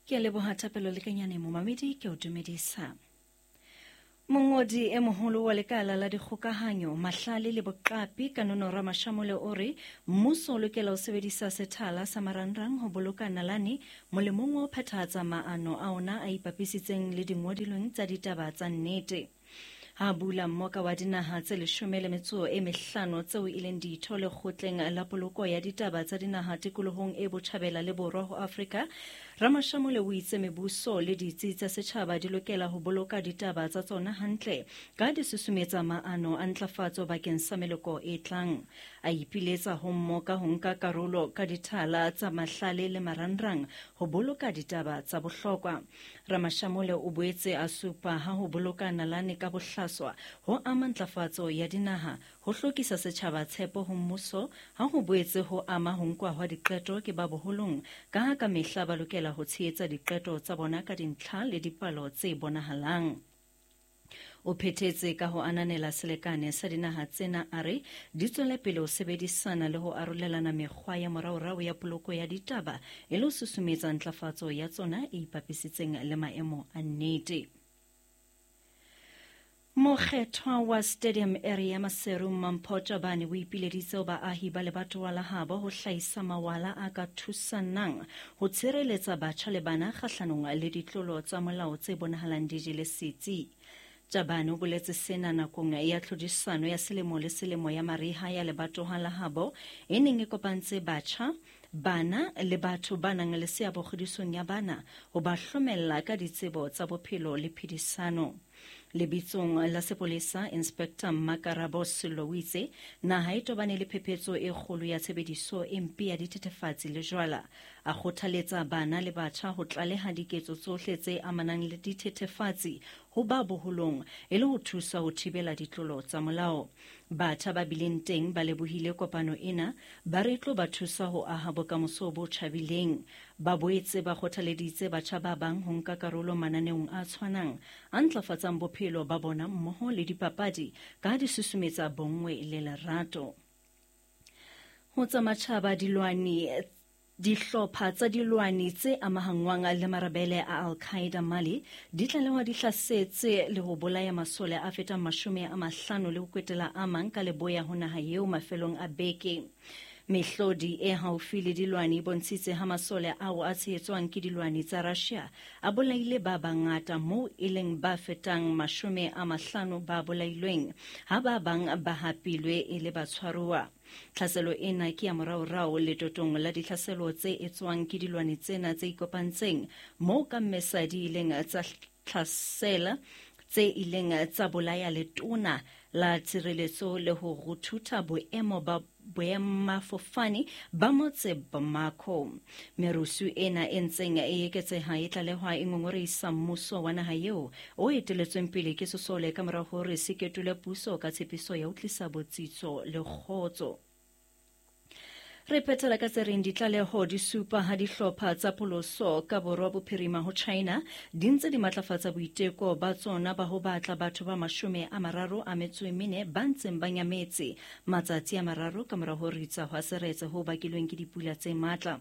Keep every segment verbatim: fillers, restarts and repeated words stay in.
Ke a leboha Thapelo Lekanyane momamedi ke o dumedisa. Mongodi e moholo wa lekala la dikgokahanyo, mahlale le boqapi Kanono Ramashamole o re mmuso o lokela ho sebedisa sethala sa marangrang ho boloka nalane molemong wa ho phethahatsa maano a ona a ipapisitseng le dingodilweng tsa ditaba tsa nnete. Ha bula mmoka wa dinaha tse leshome le metso e mehlano tseo e leng ditho lekgotleng la poloko ya ditaba tsa dinaha tikolohong e botjhabela le borwa ho Afrika, Ramashamole o itse mebuso le ditsi tsa setjhaba di lokela ho boloka ditaba tsa tsona hantle ka di susumetsa maano a ntlafatso bakeng sa meloko e tlang. A ipiletsa ho mmoka ho nka karolo ka dithala tsa mahlale le marangrang ho boloka ditaba tsa bohlokwa. Ramashamole o boetse a supa ha ho boloka nalane ka bohlaswa ho ama ntlafatso ya dinaha, ho hlokisa setjhaba tshepo ho mmuso, ha ho boetse ho ama ho nkwa hwa diqeto ke ba boholong, ka ha ka mehla ba lokela ho tshehetsa diqeto tsa bona ka dintlha le dipalo tse bonahalang. O phethetse ka ho ananela selekane sa dinaha tsena a re di tswele pele ho sebedisana le ho arolelana mekgwa ya moraorao ya poloko ya ditaba e le ho susumetsa ntlafatso ya tsona e ipapisitseng le maemo a nnete. Mokgethwa wa Stadium Area Maseru Mampho Tjabane o ipileditse ho baahi ba lebatowa la habo ho hlahisa mawala a ka thusanang ho tshireletsa batjha le bana kgahlanong le ditlolo tsa molao tse bonahalang di jele setsi. Tjabane o boletse sena nakong ya tlhodisano ya selemo le selemo ya mariha ya lebatowa la habo e neng e kopantse batjha, bana le batho ba nang le seabo kgodisong ya bana ho ba hlomella ka ditsebo tsa bophelo le phedisano. Lebitsong la sepolesa, Inspector Makarabo Sello o itse naha e tobane le phephetso e kgolo ya tshebediso e mpe ya dithethefatsi le jwala. A kgothaletsa bana le batjha ho tlaleha diketso tsohle tse amanang le dithethefatsi ho ba boholong e le ho thusa ho thibela ditlolo tsa molao. Batjha ba bileng teng ba lebohile kopano ena, ba re tlo ba thusa ho aha bokamoso bo tjhabileng. Ba boetse ba kgothaleditse batjha ba bang ho nka karolo mananeong a tshwanang a ntlafatsang bophelo ba bona mmoho le dipapadi ka di susumetsa bonngwe le lerato. Ho tsa matjhaba, dilwani dihlopha tsa dilwani tse amahangwang le marabele a Al-Qaeda Mali di tlalehwa di hlasetse le ho bolaya masole a fetang mashome a mahlano le ho kwetela a mang ka leboya ho naha eo mafelong a beke. Mehlodi e haufi le dilwani e bontshitse ha masole ao a tshehetswang ke dilwani tsa Russia a bolaile ba bangata moo e leng ba fetang mashome a mahlano ba bolailweng, ha ba bang ba hapilwe e le batshwaruwa. Tlhaselo ena ke ya moraorao letotong la ditlhaselo tse etswang ke dilwani tsena tse ikopantseng moo ka mmesa di ileng tsa tlhasela tse ileng tsa bolaya letona la tshireletso le ho ruthutha boemo ba boemafofane ba motse Bamako. Merusu ena e ntseng e eketseha e tlalehwa e ngongorehisa mmuso wa naha eo o eteletsweng pele ke sesole ka mora hore se ketole puso ka tshepiso ya ho tlisa botsitso le kgotso. Re phethela ka tse reng ditlaleho di supa ha dihlopha tsa pholoso ka borwa bophirima ho China di ntse di matlafatsa boiteko ba tsona ba ho batla batho ba mashome a mararo a metso e mene ba ntseng ba nyametse matsatsi a mararo ka mora ho ritsa hwa seretse ho bakilweng ke dipula tse matla.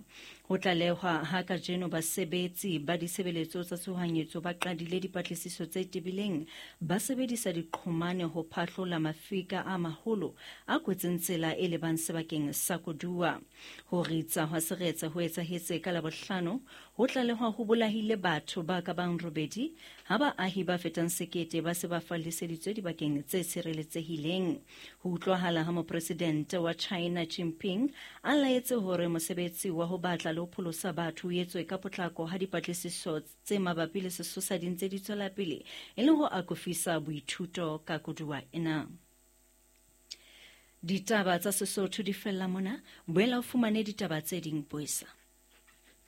Ho tlalehwa ha kajeno basebetsi ba ditshebeletso tsa tshohanyetso ba qadile dipatlisiso tse tebileng ba sebedisa diqhomane ho phahlola mafika a maholo a kwetseng tsela e lebang sebakeng sa koduwa. Ho ritsa hwa seretse ho etsahetse ka Labohlano, ho tlalehwa ho bolahile batho ba ka bang robedi ha baahi ba fetang sekete ba se ba falliseditswe dibakeng tse tshireletsehileng. Ho utlwahala ha mopresidente wa China Jinping a laetse hore mosebetsi wa ho batla le ho pholosa batho o etswe ka potlako ha dipatlisiso tse mabapi le sesosa di ntse di tswela pele e le ho akofisa boithuto ka koduwa ena. Ditaba tsa Sesotho di fella mona, boela o fumane ditaba tse ding boesa.